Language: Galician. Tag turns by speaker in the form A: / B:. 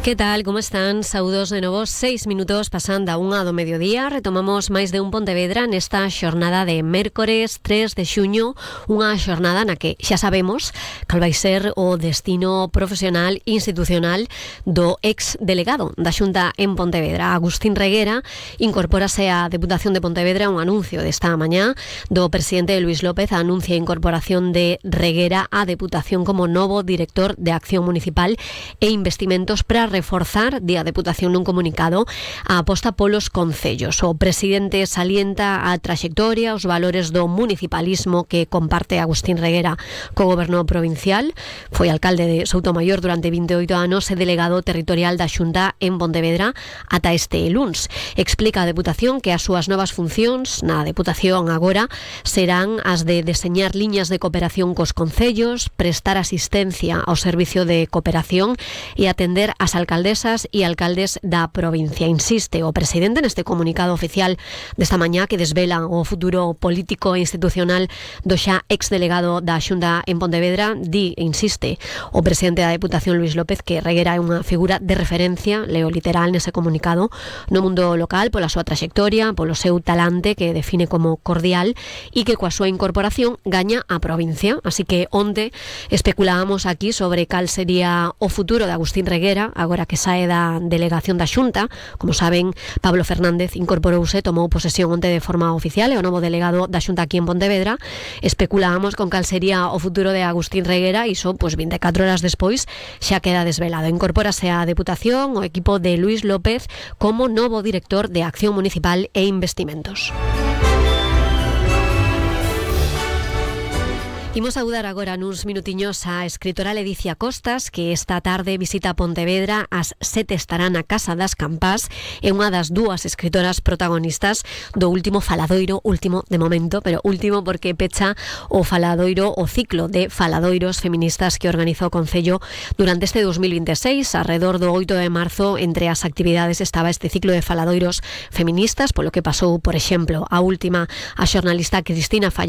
A: Que tal, como están? Saúdos de novo, 6 minutos pasando a 1 do mediodía. Retomamos máis de un Pontevedra nesta xornada de mércores 3 de xuño, unha xornada na que xa sabemos cal vai ser o destino profesional institucional do ex-delegado da Xunta en Pontevedra. Agustín Reguera incorpórase á Deputación de Pontevedra. Un anuncio desta mañá do presidente Luís López anuncia a incorporación de Reguera á Deputación como novo director de Acción Municipal e Investimentos para reforzar, di a Deputación nun comunicado, a aposta polos concellos. O presidente salienta a traxectoria, os valores do municipalismo que comparte Agustín Reguera co goberno provincial. Foi alcalde de Soutomaior durante 28 anos e delegado territorial da Xunta en Pontevedra ata este luns. Explica a Deputación que as súas novas funcións na Deputación agora serán as de deseñar liñas de cooperación cos concellos, prestar asistencia ao servicio de cooperación e atender as alcaldesas e alcaldes da provincia. Insiste o presidente neste comunicado oficial desta mañá que desvela o futuro político e institucional do xa ex-delegado da Xunta en Pontevedra. Insiste o presidente da Deputación Luís López que Reguera é unha figura de referencia, leo literal nese comunicado, no mundo local pola súa traxectoria, polo seu talante que define como cordial e que coa súa incorporación gaña a provincia. Así que onte especulábamos aquí sobre cal sería o futuro de Agustín Reguera agora que sae da delegación da Xunta. Como saben, Pablo Fernández incorporouse, tomou posesión onte de forma oficial, é o novo delegado da Xunta aquí en Pontevedra. Especulábamos con cal sería o futuro de Agustín Reguera e iso, 24 horas despois, xa queda desvelado. Incorpórase á Deputación o equipo de Luís López como novo director de Acción Municipal e Investimentos. Imos saudar agora nuns minutiños a escritora Ledicia Costas, que esta tarde visita Pontevedra. Ás 7 estará na Casa das Campás. É unha das dúas escritoras protagonistas do último faladoiro, último de momento, pero último porque pecha o faladoiro, o ciclo de faladoiros feministas que organiza o Concello durante este 2026. Arredor do 8 de marzo, entre as actividades estaba este ciclo de faladoiros feministas, polo que pasou, por exemplo, a última, a xornalista Cristina Falla,